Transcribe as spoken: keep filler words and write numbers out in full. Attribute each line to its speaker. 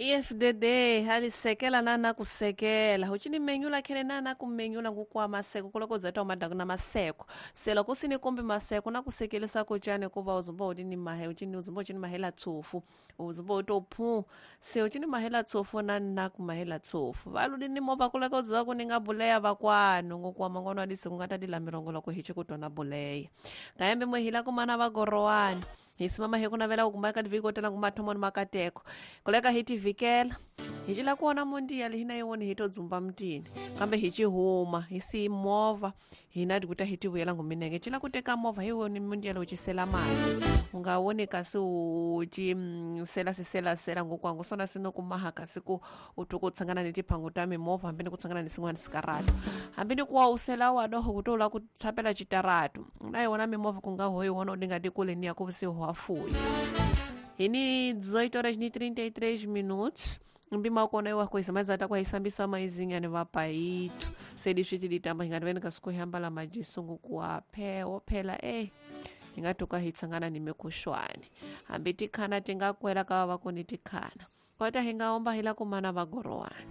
Speaker 1: E F D D alisekela na na kusekela uchini menyula khele na na kumenyula ngukwa maseko kuloko zata umadaku na maseko sela kusini kombe maseko na kusekelesa kuchane kuva uzumba udini mahe uchini uzumba uchini mahela tsofu uzumba utophu se uchini mahela tsofu na na kumahela tsofu valudini mova kuloko zaku ninga buleya vakwanu ngukwa mangono adisi kungatadila mirongo loko hichi kutona buleya kayembe mwehila kumana vagorowani hisimama hekunavela ukumaka divikotela kumathomo makateko koleka hiti vikela hichila kuona mundiya lihina yewoni hitodzumba mtini kambe hichihuma hisi movha hina tikuta hitivuyela nguminenge chila kuteka movha hiwoni mundiya lochisela mati ungawoni kasi uchi mm, sela siselasela ngokwangu sona sinokumaha kasi ku uthi kutsangana ni tiphangu ta mimovha hambi ni kutsangana ni sin'wana sikaratu hambi ni kuwa usela wadoho kutola kutsapela chitaratu na yona mimovha kunga hoyi wona udingati kule ni yaku sihuafuyi Hini dezoito horas e trinta e três minutos. Mbima kona iwa coisa mas ata kwa isambisa maizinha ni vapaito. Sedi switi litamba hingatweni kasikuhamba la majisungu kuwa phe phela eh ingatoka hitsangana ni mikushwane. Hambi tikhana tingakwela kawa vakoni tikhana. Kota hingaomba hila kumana vagorowani.